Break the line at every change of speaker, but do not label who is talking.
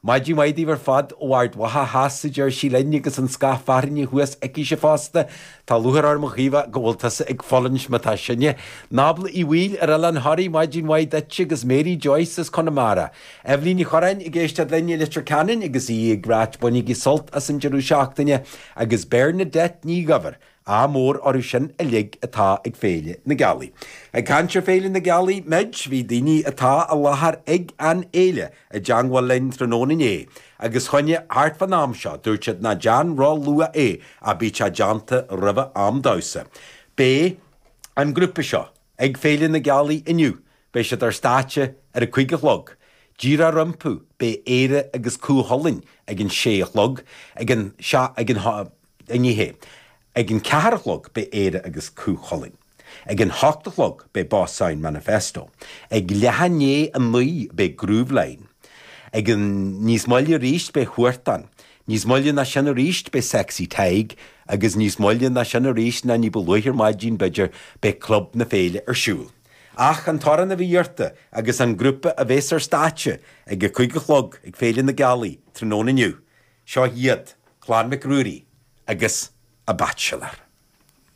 Maidin mhaith daoibh ar fad ó Ard Mhacha Theas, a deir sí linn agus an scáth fearthainne thuas aicise fosta. Tá lúcháir orm a Chaoimhe go bhfuil tusa ag fulaingt má tá sinne. Nábla Uí Bhaoill ar Oileán Thoraí, maidin mhaith duit agus Mary Joyce as Conamara. Eibhlín Ní Chorráin ag éisteacht linn i Leitir Ceanainn agus í ag ráit bainigí sult as an deireadh seachtaine agus Bernadette Ní Dhuibhir Ádh mór orthu sin uilig atá ag Féile na Gealaí. Ag caint ar Féile na Gealaí muid, bhí daoine atá i láthair ag an fhéile i dteangmháil linn tráthnóna inné agus choinne thart fán am seo, dúirt siad ná déan ró-luath é ach bíodh sé déanta roimhe am damhsa. Beidh an grúpa seo ag Féile na Gealaí inniu, beidh siad ar stáitse ar a 5 a chlog. Díreach rompu beidh Éire agus Cú Chulainn ag an sé a chlog, ag an, ag an. Ní hea. Ag an ceathair a chlog beidh Éire agus Cú Chulainn. Ag an hocht a chlog beidh Boss Sound Manifesto. Ag leath i ndiaidh a naoi beidh Grooveline. Ag an níos moille arís beidh Huartan. Níos moille ná sin arís beidh Sexy Tadhg agus níos moille ná sin arís ná ní ba luaithe ar maidin b'fhéidir beidh Club na Féile ar siúl. Ach an t-amhrán a bhí iarrta agus an grúpa a bhéas ar stáitse ag a cuig a chlog ag Féile na Gealaí tráthnóna inniu, Seo iad Clann Mhic Ruairí agus A Bachelor.